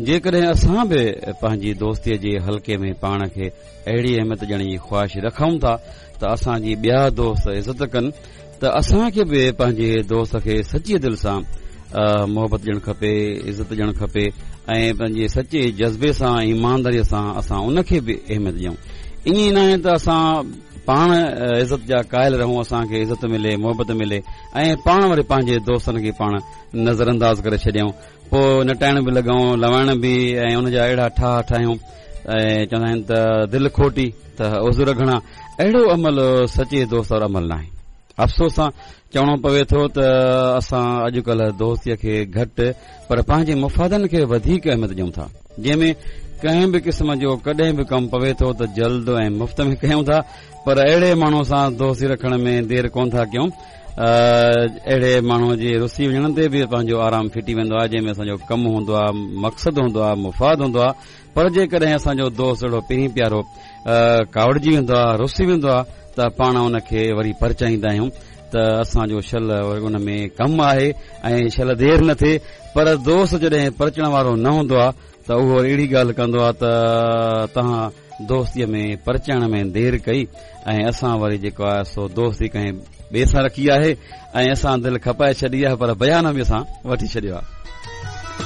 جيڪڏهن اسان به پنهنجي دوستيء جي حلقي ۾ پاڻ کي اهڙي اهميت ڏيڻ جي خواهش رکون ٿا ته اسان جي ٻيا دوست عزت ڪن ته اسان کي به پنهنجي دوست کي سچيء دل سان محبت ڏيڻ کپي، عزت ڏيڻ کپي ۽ پنهنجي سچي جذبي سان ايمانداريء سان اسان ان کي به اهميت ڏيون. ائين ئي ناهي ته اسان پاڻ عزت جا قائل رهون، اسان کي عزت ملي، محبت ملي ۽ پاڻ وري پنهنجي دوستن کي پاڻ نظرانداز ڪري ڇڏيون، پوء نٽائڻ به لڳون، لوائڻ به ۽ ان جا اهڙا ٺاهه ٺاهيون ۽ چوندا آهن ته دل کوٽي ته عذر گهڻا. اهڙو عمل سچي دوست وارو عمل ناهي. افسوس سان چوڻو پوي ٿو ته اسان اڄڪلهه دوستيء کي گهٽ پر پنهنجي مفادن کي وڌيڪ اهميت ڏيون ٿا، جنهن ۾ ڪنهن به قسم جو ڪڏهن به ڪم پوي ٿو ته جلد ۽ مفت ۾ ڪيون ٿا پر اهڙي ماڻهوء سان دوستي رکڻ ۾ دير ڪونه ٿا ڪيون. اهڙي ماڻهوء جي رسي وڃڻ تي به پنهنجو آرام ڦٽي ويندو آهي، جنهن ۾ اسان جو ڪم هوندو آهي، مقصد هوندو آهي، مفاد هوندو آهي، پر جيڪڏهن اسان جو دوست اهڙو پرين پيارو ڪاوڙجي ويندو آهي، رسي ويندو آهي ته پاڻ ان کي وري پرچائيندا آهيون ته اسان جو شل ان ۾ ڪم آهي ۽ شل دير نه ٿئي، پر دوست جڏهن پرچڻ وارو نه هوندو آهي ته اهو وري اهڙي ڳالهه ڪندو آهي ته توهان دوستيء ۾ پرچائڻ ۾ دير ڪئي ۽ اسان وري جيڪو آهي سو دوستي ڪنهن ٻئي سان رکي آهي ۽ اسان دل کپائي ڇڏي آهي پر بيان به اسان وٺي ڇڏيو آهي.